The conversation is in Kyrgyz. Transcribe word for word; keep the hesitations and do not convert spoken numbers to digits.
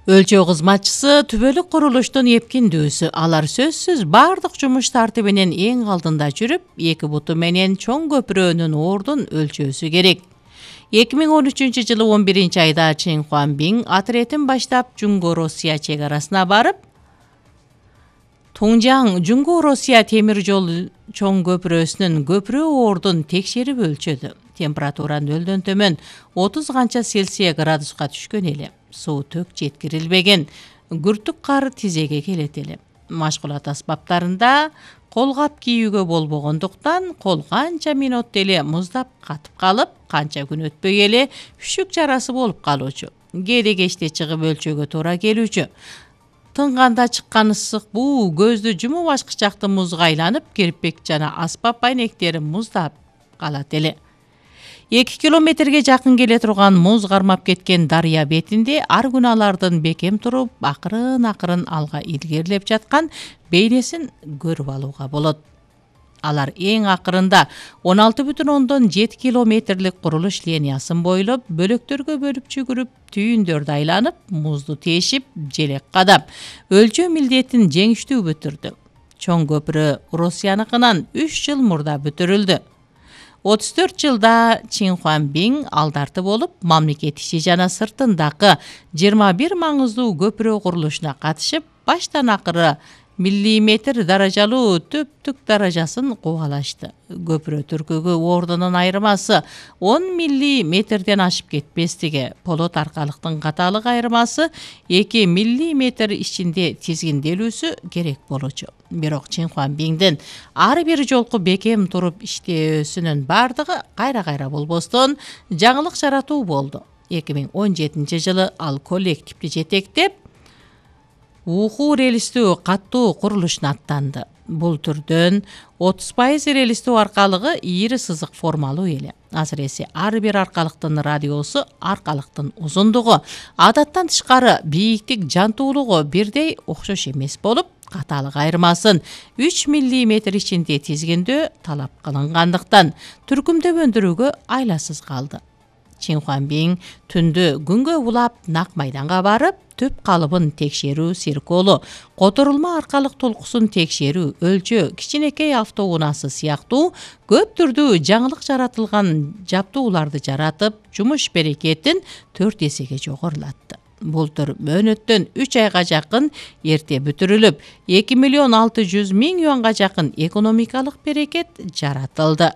Өлчөө кызматчысы түбөлүк курулуштун эпкиндүүсү. Алар сөзсүз бардык жумуш тартибинен эң алдында жүрүп, эки буту менен чоң көпүрөнүн ордун өлчөөсү керек. эки миң он үчүнчү жылы он биринчи айда Чин Хуанбин атретин баштап Жуңго Россия чек арасына барып, Тунжаң Жуңго Россия темир жол чоң көпүрөсүнүн көпүрө ордун текшерип өлчөдү. Температура нөлдөн төмөн отуз канча Цельсия градуска түшкөн эле. Суу төк жеткирилбеген, күртүк кар тизеге келет эле. Машкулат аспаптарында колгап кийүүгө болбогондуктан кол канча минут эле муздап катып калып, канча күн өтпөй эле үшүк жарасы болуп калуучу. Кээде кечте чыгып өлчөөгө туура келүүчү. Тынганда чыккан ысык буу көздү жумуп ачкычакты музга айланып, кирпик жана аспап айнектери муздап калат эле. эки километрге жакын келе турган муз кармап кеткен дарыя бетинде ар күнү алардын бекем туруп, акырын-акырын алга илгерилеп жаткан бейнесин көрүп алууга болот. Алар эң акырында он алты бүтүн ондон жети километрлик курулуш линиясын бойлоп, бөлөктөргө бөлүп жүгүрүп, түйүндөрдү айланып, музду тешип, желек кадап, өлчөө милдетин жеңиштүү бүтүрдү. Чоң көпүрө Россияныкынан үч жыл мурда бүтүрүлдү. отуз төрт жылда Чин Хуанбин алдарты болуп, мамлекет ичи жана сыртындагы жыйырма бир маңыздуу көпүрө курулушуна катышып, баштан акыры миллиметр даражалуу төптүк даражасын кубалашты. Көпүрө түркүгү ордунун айырмасы он миллиметрден ашып кетпестиги, полот аркалыктын катаалык айырмасы эки миллиметр ичинде тизгинделүүсү керек болчу. Бирок Чин Хуанбиндин ар бир жолку бекем туруп иштөөсүнүн бардыгы кайра-кайра болбостон жаңылык жаратуу болду. эки миң он жетинчи жылы ал коллективди жетектеп, уху релистүү каттуу курулушуна аттанды. Бул түрдөн отуз пайыз релистүү аркалыгы ийри сызык формалуу эле. Азыресе ар бир аркалыктын радиусу, аркалыктын узундугу, адаттан тышкары бийиктик, жантуулугу бирдей окшош эмес болуп, катаалык айырмасын үч миллиметр ичинде тизгиндөө талап кылынгандыктан түркүмдөп өндүрүүгө айласыз калды. Чин Хуанбин түндө күнгө улап нак майданга барып, төп калыбын текшерүү сирколу, которулма аркалык толкусун текшерүү, өлчөө, кичинекей автоунаасы сыяктуу көп түрдүү жаңылык жаратылган жаптууларды жаратып, жумуш берекетин төрт эсеге жогорулатты. Бул түр мөөнөттөн үч айга жакын эрте бүтүрүлүп, эки миллион алты жүз миң юанга жакын экономикалык берекет жаратылды.